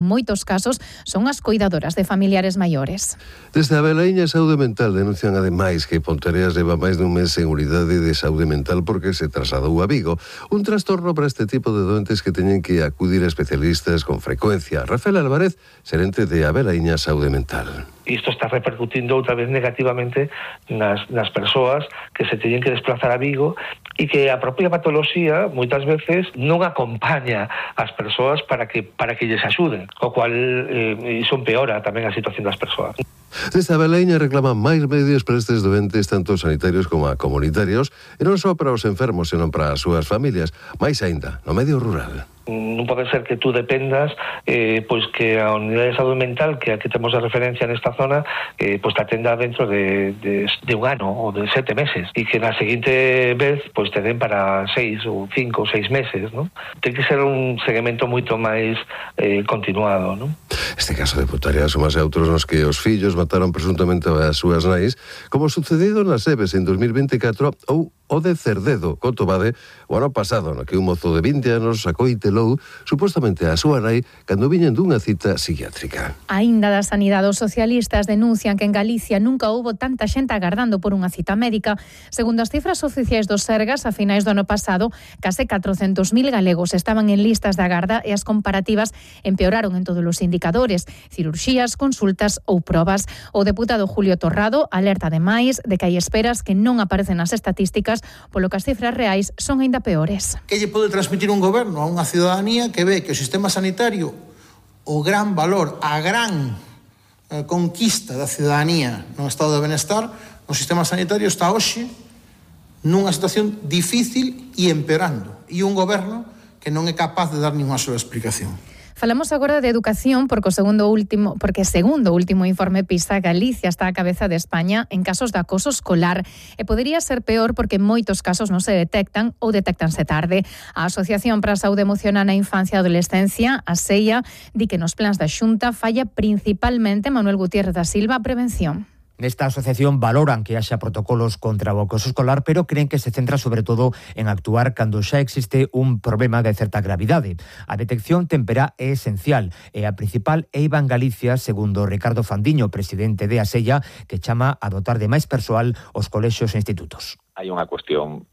moitos casos son as coidadoras de familiares maiores. Desde a Belaiña Saúde Mental denuncian ademais que Ponteareas leva máis dun mes sen unidade de saúde mental porque se trasladou a Vigo. Un trastorno para este tipo de doentes que teñen que acudir a especialistas con frecuencia. Rafael Álvarez, xerente de a Belaiña Saúde Mental. Isto está repercutindo outra vez negativamente nas persoas que se teñen que desplazar a Vigo e que a propia patoloxía moitas veces non acompaña as persoas para que lles axuden, o cual iso empeora tamén a situación das persoas. Desde a Belaiña reclaman máis medios para estes doentes, tanto sanitarios como comunitarios, e non só para os enfermos, senón para as súas familias, máis aínda no medio rural. Non pode ser que tú dependas pois que a unidade de saúde mental que aquí temos de referencia nesta zona pois te atenda dentro de un ano ou de 7 meses e que na seguinte vez pois te den para 6 ou 5 ou 6 meses, non? Ten que ser un seguimento moito máis continuado, non? Este caso de Ponteareas somase a outros nos que os fillos mataron presuntamente as súas nais, como sucedido nas Eves en 2024 ou o de Cerdedo, Cotobade, o ano pasado, no que un mozo de 20 anos acoitelou supostamente a súa nai cando viñen dunha cita psiquiátrica. Aínda da sanidade, os socialistas denuncian que en Galicia nunca houbo tanta xente agardando por unha cita médica. Segundo as cifras oficiais do Sergas, a finais do ano pasado, case 400.000 galegos estaban en listas de agarda e as comparativas empeoraron en todos os indicadores, cirurxías, consultas ou probas. O deputado Julio Torrado alerta ademais de que hai esperas que non aparecen nas estatísticas, polo que as cifras reais son aínda peores. Que lle pode transmitir un goberno a unha ciudadanía que ve que o sistema sanitario, o gran valor, a gran conquista da ciudadanía no estado de benestar, o sistema sanitario está hoxe nunha situación difícil e empeorando, e un goberno que non é capaz de dar ninguna sola explicación. Falamos agora de educación porque segundo o último informe PISA, Galicia está á cabeza de España en casos de acoso escolar e podería ser peor porque moitos casos non se detectan ou detectanse tarde. A Asociación para a Saúde Emocional na Infancia e Adolescencia, a SEIA, di que nos plans da Xunta falla principalmente Manuel Gutiérrez da Silva a prevención. Nesta asociación valoran que haxa protocolos contra o acoso escolar, pero creen que se centra sobre todo en actuar cando xa existe un problema de certa gravidade. A detección temperá é esencial e a principal eiva en Galicia, segundo Ricardo Fandiño, presidente de ASEIA, que chama a dotar de máis persoal os colexios e institutos. Hai unha cuestión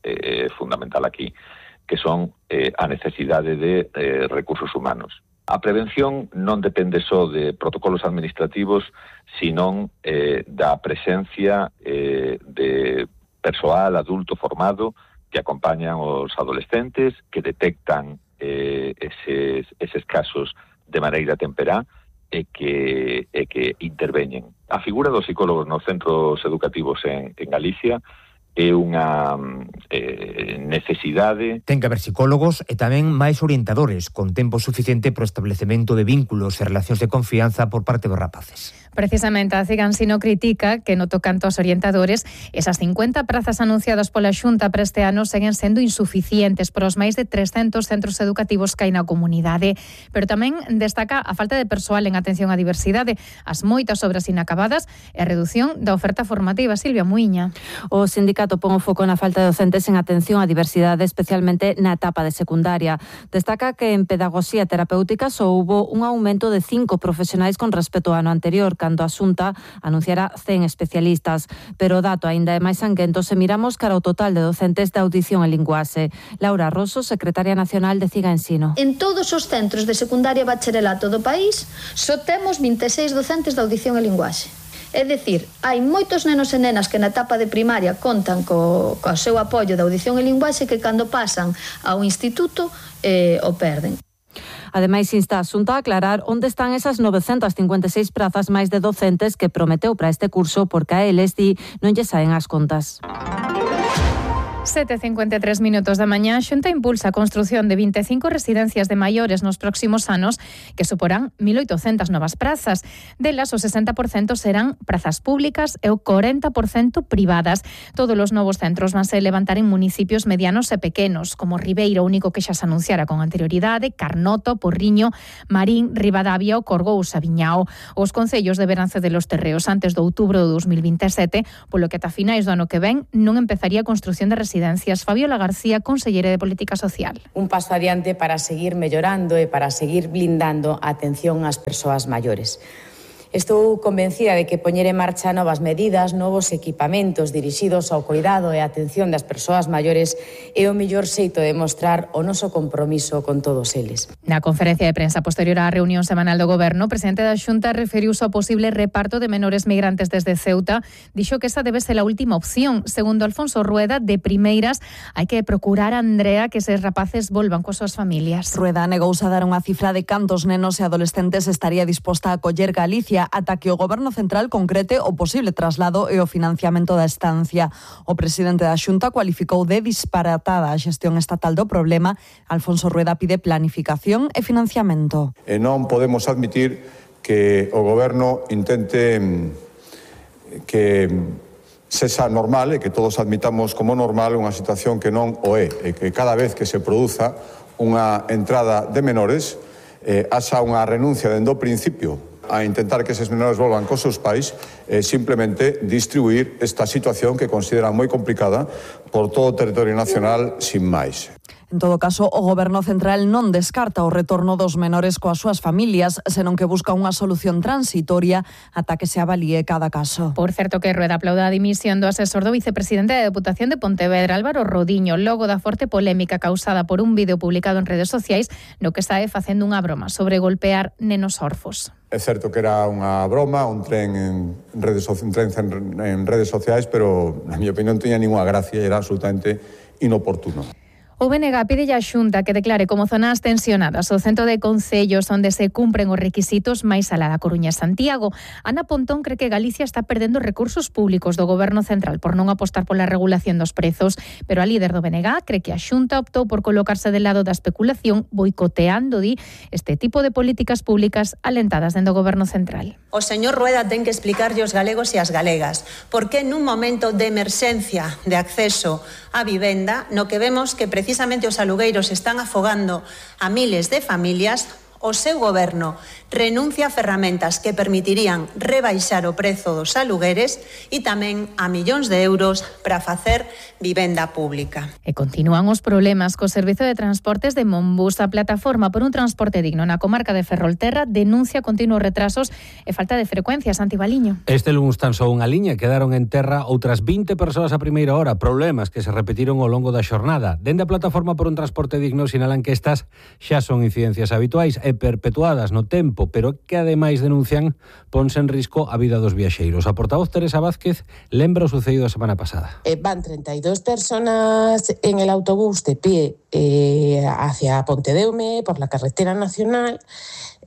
fundamental aquí, que son a necesidade de recursos humanos. A prevención non depende só de protocolos administrativos, sino da presencia de persoal adulto formado que acompañan os adolescentes, que detectan eses casos de maneira temperá e que interveñen. A figura dos psicólogos nos centros educativos en Galicia é unha necesidade. Ten que haber psicólogos e tamén máis orientadores, con tempo suficiente para o establecemento de vínculos e relacións de confianza por parte dos rapaces. Precisamente a Cigansino critica que no tocanto aos orientadores, esas 50 prazas anunciadas pola Xunta para este ano seguen sendo insuficientes para os máis de 300 centros educativos que hai na comunidade. Pero tamén destaca a falta de persoal en atención á diversidade, as moitas obras inacabadas e a redución da oferta formativa. Silvia Muiña. O sindicato pon o foco na falta de docentes en atención á diversidade, especialmente na etapa de secundaria. Destaca que en pedagogía terapéutica só houbo un aumento de 5 profesionais con respecto ao ano anterior, cando a Xunta anunciara 100 especialistas. Pero o dato aínda é máis sanguento se miramos cara ao total de docentes de audición e linguaxe. Laura Rosso, secretaria nacional de Cigansino. En todos os centros de secundaria e bacharelato do país só temos 26 docentes de audición e linguaxe. É dicir, hai moitos nenos e nenas que na etapa de primaria contan co seu apoio de audición e linguaxe que cando pasan ao instituto o perden. Ademais, insta a Xunta a aclarar onde están esas 956 prazas máis de docentes que prometeu para este curso porque a eles non lle saen as contas. 7:53 minutos da mañá, Xunta impulsa a construción de 25 residencias de maiores nos próximos anos que suporán 1.800 novas prazas. Delas, o 60% serán prazas públicas e o 40% privadas. Todos os novos centros vanse levantar en municipios medianos e pequenos, como Ribeira, único que xa se anunciara con anterioridade, Carnoto, Porriño, Marín, Ribadavia, o Corgous e Viñao. Os concellos deberán ceder os terreos antes de outubro de 2027, polo que ata finais do ano que ven non empezaría a construción de residencias residencias. Fabiola García, conselleira de Política Social. Un paso adiante para seguir mellorando e para seguir blindando a atención ás persoas maiores. Estou convencida de que poñer en marcha novas medidas, novos equipamentos dirixidos ao cuidado e a atención das persoas maiores é o mellor xeito de mostrar o noso compromiso con todos eles. Na conferencia de prensa posterior á reunión semanal do Goberno, o presidente da Xunta referiuse ao posible reparto de menores migrantes desde Ceuta. Dixo que esa debe ser a última opción. Segundo Alfonso Rueda, de primeiras, hai que procurar, Andrea, que eses rapaces volvan coas súas familias. Rueda negouse a dar unha cifra de cantos nenos e adolescentes estaría disposta a acoller Galicia ata que o Goberno Central concrete o posible traslado e o financiamento da estancia. O presidente da Xunta cualificou de disparatada a xestión estatal do problema. Alfonso Rueda pide planificación e financiamento. E non podemos admitir que o Goberno intente que sexa normal e que todos admitamos como normal unha situación que non o é, e que cada vez que se produza unha entrada de menores haxa unha renuncia dende o principio a intentar que eses menores volvan cos seus pais e simplemente distribuir esta situación que consideran moi complicada por todo o territorio nacional sin máis. En todo caso, o Goberno Central non descarta o retorno dos menores coas súas familias, senón que busca unha solución transitoria ata que se avalíe cada caso. Por certo que Rueda aplauda a dimisión do asesor do vicepresidente da Deputación de Pontevedra, Álvaro Rodiño, logo da forte polémica causada por un vídeo publicado en redes sociais no que está facendo unha broma sobre golpear nenos orfos. É certo que era unha broma, un tren en redes sociais, pero na miña opinión non tiña ninguna gracia e era absolutamente inoportuno. O BNG pide a Xunta que declare como zonas tensionadas o centro de concellos onde se cumpren os requisitos máis alá da Coruña e Santiago. Ana Pontón cree que Galicia está perdendo recursos públicos do Goberno Central por non apostar pola regulación dos prezos, pero a líder do BNG cree que a Xunta optou por colocarse del lado da especulación, boicoteando, este tipo de políticas públicas alentadas dentro do Goberno Central. O señor Rueda ten que explicarlle aos galegos e ás galegas por que nun momento de emerxencia de acceso á vivenda, no que vemos que precisamente os alugueiros están afogando a miles de familias, o seu goberno renuncia a ferramentas que permitirían rebaixar o prezo dos alugueres e tamén a millóns de euros para facer vivenda pública. E continúan os problemas co servizo de transportes de Monbus. A plataforma por un transporte digno na comarca de Ferrolterra denuncia continuos retrasos e falta de frecuencias. Antibaliño. Este luns tan só unha liña, quedaron en terra outras 20 persoas a primeira hora, problemas que se repetiron ao longo da xornada. Dende a plataforma por un transporte digno sinalan que estas xa son incidencias habituais e perpetuadas no tempo, pero que ademais denuncian ponse en risco a vida dos viaxeiros. A portavoz Teresa Vázquez lembra o sucedido a semana pasada. Van 32 personas en el autobús de pie hacia Pontedeume por la carretera nacional.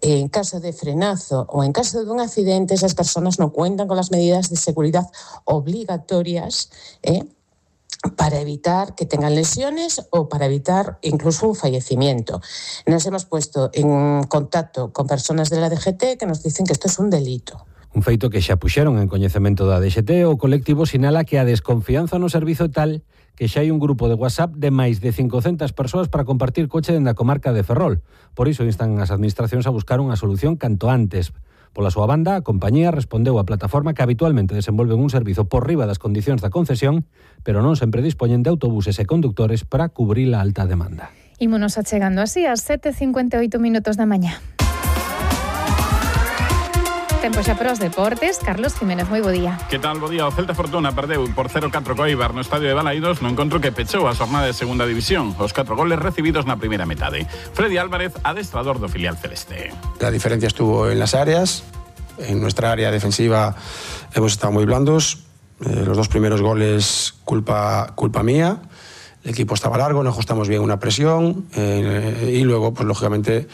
En caso de frenazo o en caso de un accidente, esas personas no cuentan con las medidas de seguridad obligatorias, para evitar que tengan lesiones o para evitar incluso un fallecimiento. Nos hemos puesto en contacto con personas de la DGT que nos dicen que esto es un delito. Un feito que xa puxeron en coñecemento da DGT, o colectivo sinala que a desconfianza no servizo tal que xa hai un grupo de WhatsApp de máis de 500 persoas para compartir coche dende a comarca de Ferrol. Por iso instan as administracións a buscar unha solución canto antes. Pola súa banda, a compañía respondeu á plataforma que habitualmente desenvolven un servizo por riba das condicións da concesión, pero non sempre dispoñen de autobuses e conductores para cubrir a alta demanda. Ímonos achegando así ás 7:58 minutos da mañá. Tempo xa para os deportes. Carlos Jiménez, moi bo día. Que tal, bo día? O Celta Fortuna perdeu por 0-4 co Eibar no estadio de Balaídos no encontro que pechou a xornada de segunda división. Os 4 goles recibidos na primeira metade. Freddy Álvarez, adestrador do filial celeste. La diferencia estuvo en las áreas. En nuestra área defensiva hemos estado muy blandos. Los dos primeros goles culpa mía. El equipo estaba largo, no ajustamos bien una presión y luego, pues lógicamente,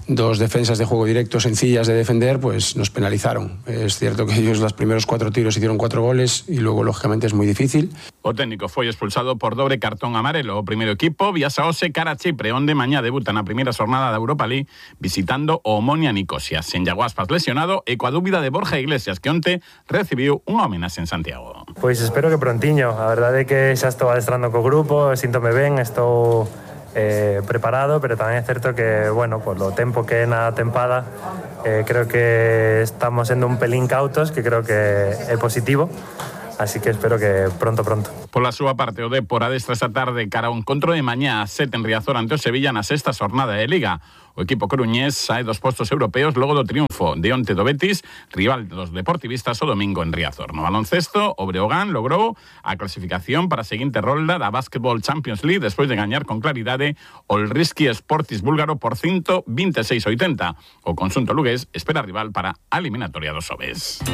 dos defensas de juego directo sencillas de defender, pues nos penalizaron. Es cierto que ellos los primeros 4 tiros hicieron 4 goles y luego, lógicamente, es muy difícil. O técnico foi expulsado por dobre cartón amarelo. O primeiro equipo viaxa hoxe cara a Chipre, onde mañá debuta na primeira xornada da Europa League visitando o Omonia Nicosia. Sen Iago Aspas lesionado e coa dúbida de Borja Iglesias, que onte recibiu unha homenaxe en Santiago. Pois espero que prontiño. A verdade é que xa estou adestrando co grupo, síntome ben, estou preparado, pero tamén é certo que, bueno, por lo tempo que é na tempada, creo que estamos sendo un pelín cautos, que creo que é positivo, así que espero que pronto. Pola súa parte, o Dépor adestra esta tarde cara a un encontro de mañá a 7 en Riazor ante o Sevilla na sexta xornada de Liga. O equipo coruñés sae dos postos europeos logo do triunfo de onte do Betis, rival dos deportivistas o domingo en Riazor. No baloncesto, o Breogán logrou a clasificación para a seguinte rolda da Basketball Champions League despois de gañar con claridade o Risky Sportis búlgaro por 126-80. O conxunto lugués espera rival para a eliminatoria dos Oves.